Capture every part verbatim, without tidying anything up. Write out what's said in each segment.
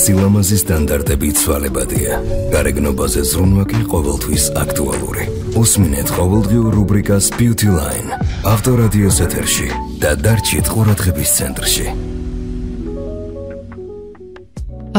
სილამაზის სტანდარტები ცვალებადია. გარეგნობაზე ზრუნვა კი ყოველთვის აქტუალური. უსმინეთ ყოველდღიურ რუბრიკას Beauty Line. ავტორადიოს ეთერში და დარჩით ყურადღების ცენტრში.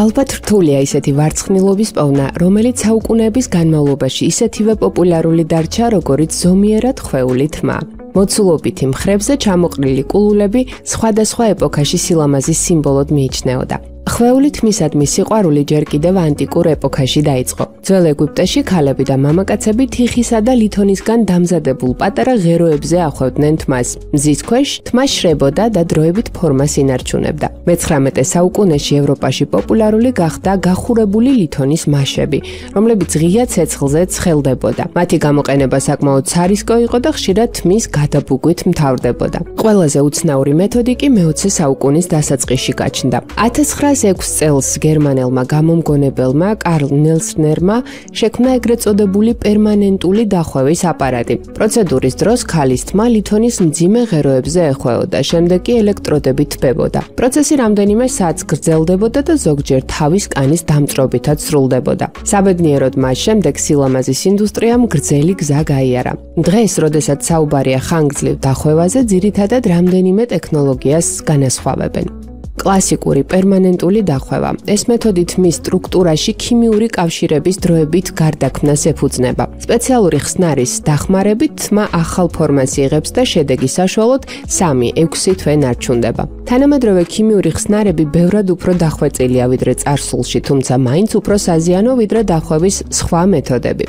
ალბათ რთულია ისეთი ვარცხნილობის პოვნა, რომელიც საუკუნეების განმავლობაში ისეთივე პოპულარული დარჩა, როგორიც ზომიერად ხვეული თმა. მოცულობითი მხრებზე ჩამოყრილი კულულები სხვადასხვა ეპოქაში სილამაზის სიმბოლოდ მიიჩნეოდა. ხვეული თმისადმი სიყვარული ჯერ კიდევ ანტიკურ ეპოქაში დაიწყო. ძველ ეგვიპტეში ქალები და მამაკაცები თიხისა და ლითონისგან დამზადებულ პატარა ღეროებზე ახვევდნენ თმას. მზის ქვეშ თმა შრებოდა და დროებით ფორმას ინარჩუნებდა. მეცხრამეტე საუკუნეში ევროპაში პოპულარული გახდა გახურებული ლითონის მაშები, რომლებიც ღია ცეცხლზე ცხელდებოდა. მათი გამოყენება საკმაოდ სარისკო იყო და ხშირად თმის გადაბუგვით მთავრდებოდა. ყველაზე უცნაური მეთოდი კი მეოცე საუკუნის დასაწყისში გაჩნდა. ათას ცხრაას ექვს წელს გერმანელმა გამომგონებელმა კარლ ნელსნერმა შექმნა ეგრეთ წოდებული პერმანენტული დახვევის აპარატი. პროცედურის დროს ქალის თმა ლითონის მძიმე ღეროებზე ეხვეოდა, შემდეგ კი ელექტროდებით თბებოდა. პროცესი რამდენიმე საათს გრძელდებოდა და ზოგჯერ თავის კანის დამწრობითაც სრულდებოდა. საბედნიეროდ მას შემდეგ სილამაზის ინდუსტრიამ გრძელი გზა გაიარა. დღეს, როდესაც საუბარია ხანგრძლივ დახვევაზე, ძირითადად რამდენიმე ტექნოლოგიას განასხვავებენ. კლასიკური პერმანენტული დახვევა. ეს მეთოდი თმის სტრუქტურაში ქიმიური კავშირების დროებით გარდაქმნას ეფუძნება. სპეციალური ხსნარის დახმარებით თმა ახალ ფორმას იღებს და შედეგის საშუალოდ სამი ექვსი თვე ნარჩუნდება. თანამედროვე ქიმიური ხსნარები ბევრად უფრო დახვეწილია ვიდრე წარსულში, თუმცა მაინც უფრო საზიანო ვიდრე დახვევის სხვა მეთოდები.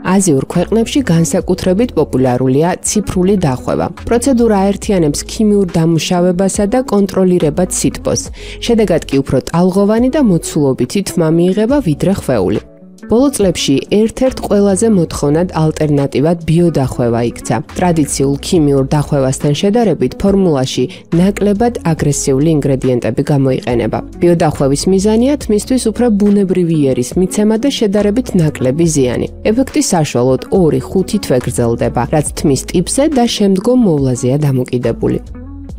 აზიურ ქვეყნებში განსაკუთრებით პოპულარულია ციფრული დახვევა. პროცედურა აერთიანებს ქიმიურ დამუშავებასა და კონტროლირებად სითბოს. შედეგად კი უფრო ტალღოვანი და მოცულობითი თმა მიიღება ვიდრე ხვეული. ბოლო წლებში ერთ-ერთ ყველაზე მოთხოვნად ალტერნატივად ბიოდახვევა იქცა. ტრადიციულ ქიმიურ დახვევასთან შედარებით ფორმულაში ნაკლებად აგრესიული ინგრედიენტები გამოიყენება. ბიოდახვევის მიზანია თმისთვის უფრო ბუნებრივი იერის მიცემა და შედარებით ნაკლები ზიანი. ეფექტის საშუალოდ ორი ხუთი თვე გრძელდება, რაც თმის ტიპზე და შემდგომ მოვლაზეა დამოკიდებული.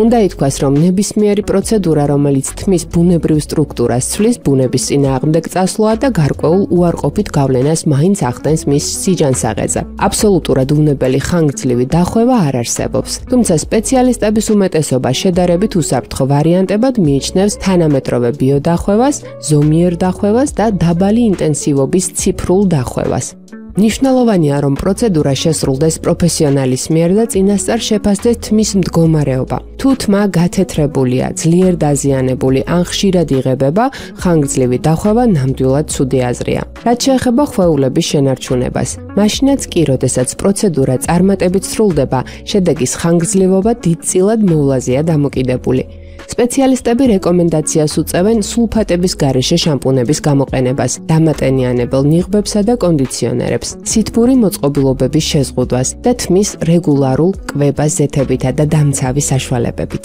უნდა ითქვას, რომ ნებისმიერი პროცედურა, რომელიც თმის ბუნებრივ სტრუქტურას ცვლის, ბუნების წინააღმდეგ წასვლაა და გარკვეულ უარყოფით გავლენას მაინც ახდენს მის სიჯანსაღეზე. აბსოლუტურად უნებელი ხანგრძლივი დახვევა არ არსებობს. თუმცა სპეციალისტების უმეტესობა შედარებით უსაფრთხო ვარიანტებად მიიჩნევს თანამედროვე ბიოდახვევას, ზომიერ დახვევას და დაბალი ინტენსივობის ციფრულ დახვევას. ნიშნულოვანია, რომ პროცედურა შესრულდეს პროფესიონალის მიერ და წინასწარ შეფასდეს თმის მდგომარეობა. თუ თმა გათეთრებულია, ძლიერ დაზიანებული ან ხშირად იღებება, ხანგრძლივი დახვევა ნამდვილად ცუდი აზრია. რაც შეეხება ხვეულების შენარჩუნებას, მაშინაც კი, როდესაც პროცედურა წარმატებით სრულდება, შედეგის ხანგრძლივობა დიდწილად მოვლაზეა დამოკიდებული. სპეციალისტები რეკომენდაციას უწევენ სულფატების გარეშე შამპუნების გამოყენებას, დამატენიანებელ ნიღბებსა და კონდიციონერებს, სითბური მოწყობილობების შეზღუდვას და თმის რეგულარულ კვებას ზეთებითა და დამცავი საშუალებებით.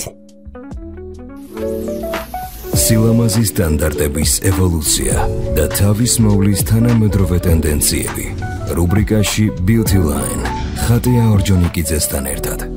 სილამაზის სტანდარტების ევოლუცია და თავის მოვლის თანამედროვე ტენდენციები. რუბრიკაში Beauty Line. ხატია ორჯონიკიძესთან ერთად.